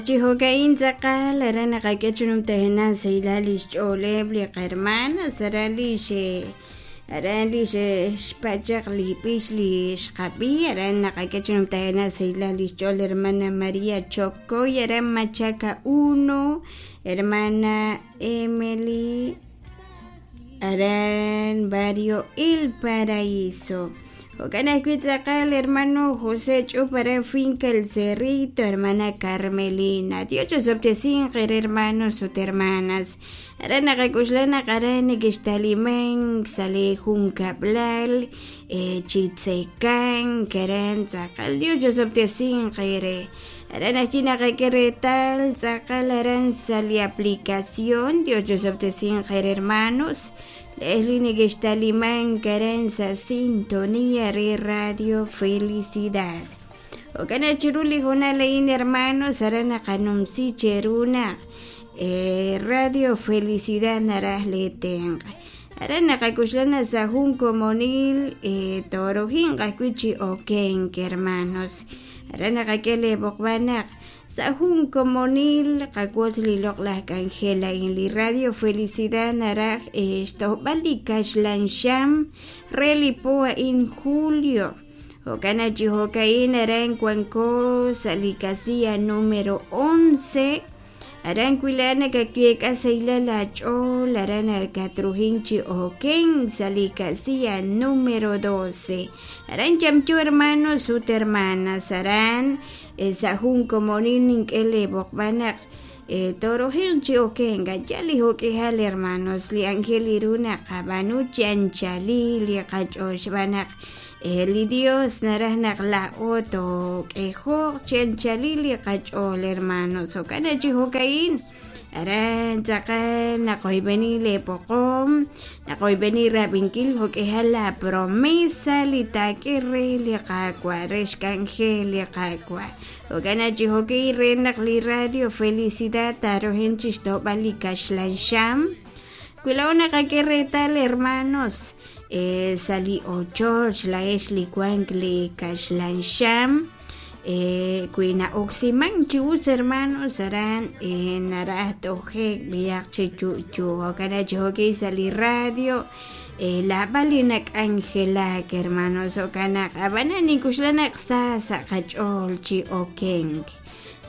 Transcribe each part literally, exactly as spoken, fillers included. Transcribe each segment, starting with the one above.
Chi jo'ka'in tz'aqal aran naqak'e chi numtajenaq sahilal li xch'ooleb' li qahermanas aran li xe aran li xe'xpa' chaq li b'ich li xqab'i aran naqak'e chi numtajenaq sahilal li xch'ool hermana María Chocoy aran Machaca uno, hermana Emily aran barrio El Paraíso. Jo'kan ajwi' tz'aqal hermano José Ch'up aran finca El Cerrito, hermana Carmelina. Dios ch'osob'tesinq eere hermanos ut hermanas. Aran naqak'uxla naq aran nekextalimank sa' li junkab'lal chi tzekank aran tz'aqal Dios ch'osob'tesinq eere. Aran ajwi' naqak'e reetal tz'aqal aran sa' li aplicación Dios ch'osob'tesinq eere hermanos. Leslie nekextalimank aran sa' sintonía re Radio Felicidad. Jo'kan chiru li hoonal a'in hermanos aran naqanumsi cheru naq Radio Felicidad naraj li tenq'. Aran naqak'uxla naq sa' jun komonil torojinq ajwi' chi okenk hermanos. Aran naqak'e li b'oqb'al naq sa' jun komonil qawotz li loq'laj k'anjel a'in li Radio Felicidad naraj xtojb'al li kaxlan xam re li po a'in julio. Jo'kan chi jo'ka'in aran wanko sa' li casilla número once. Aran wila nakak'e sahilal ach'ool aran akatrujin chi oken sa' li casilla número doce. Aran yamchu hermanos ut hermanas aran sa' jun komonil nink'e li b'oqb'al naq torojin chi oken yal li jo'k'ihal hermanos li ángel iru naq qab'aanu chi anchalil li qach'ool xb'aan naq li Dios naraj naq la'o took'ejo'q chi anchalil li qach'ool hermanos. Jo'kan chi jo'ka'in aran tz'aqal naqoyb'eni li poqom naqoyb'eni rab'inkil jo'k'ihal la promesa li taak'e re li Qaawa' re xk'anjel li Qaawa'. Jo'kan chi jo'ka'in re naq li Radio Felicidad tarojin chi xtojb'al li kaxlan xam. Wila'o naqak'e reetal hermanos sa' li ochoch la'ex li wank li kaxlan xam wi na'oksiman chi us hermanos aran naraj tojek b'iyaq chi chu'chu. Jo'kan chi jo'ka'in sa' li radio laab'al li nak'anjelak hermanos. Jo'kan naq ab'anan nink'uxla naq sa sa' qach'ool chi okenk.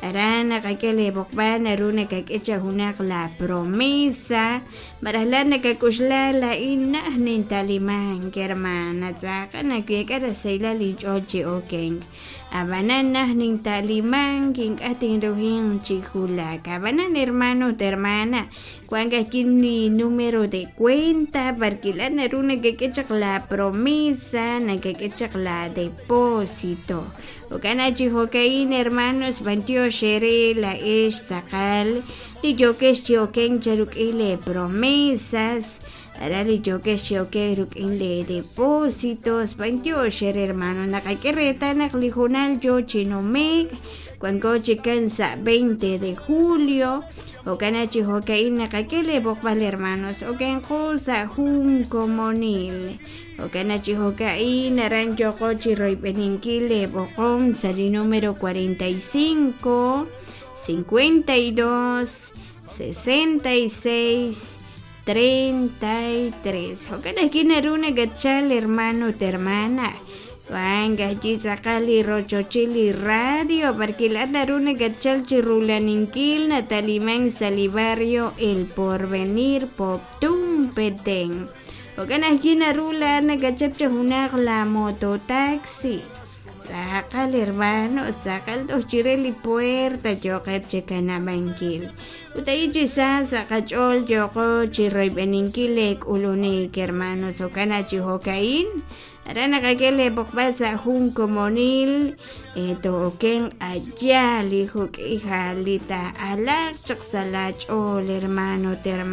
Aran naqak'e li b'oqb'al naru nakak'e cha junaq la promesa maraj la nakak'uxla la'in naj nintalimank hermana tz'aqal nakuek'a rasahilal inch'ool chi okenk. Ab'anan naj nintalimank ink'a' tinrujin chi julak. Ab'anan hermano ut hermana wank ajwi' li número de cuenta porque la naru nakak'e chaq la promesa nakak'e chaq la depósito. Jo'kan chi jo'ka'in hermanos b'antiox eere la'ex tz'aqal li yokex chi okenk charuk'in li promesas aran li yokex chi okenk ruk'in li depósitos b'antiox eere hermano naqak'e reetal naq li hoonal yo chi numek wanko chikan sa' veinte de julio. Jo'kan chi jo'ka'in naqak'e li b'oqb'al hermanos okenqo sa' jun komonil. Jo'kan chi jo'ka'in aran yoqo chi royb'eninkil li b'oqom sa' li número cuarenta y cinco, cincuenta y dos, sesenta y seis, treinta y tres. Jo'kan ajwi' naru nakatchal hermano ut hermana wank ajwi' tz'aqal li rochochil li radio porque la naru nakatchal chi rulaninkil natalimank sa' li barrio El Porvenir Poptún Petén. Jo'kan ajwi' naru la nakachap cha junaq la mototaxi tz'aqal hermano tz'aqal toj chire li puerta yoqeb' chi kanab'ankil. Ut ahi chi sa sa' qach'ool yoqo chi royb'eninkil li k'ulunik hermanos. Jo'kan chi jo'ka'in aran naqak'e li b'oqb'al sa' jun komonil to'oken allá li juk'ijal li ta'alaq chaq sa' la ch'ool hermano ut hermana.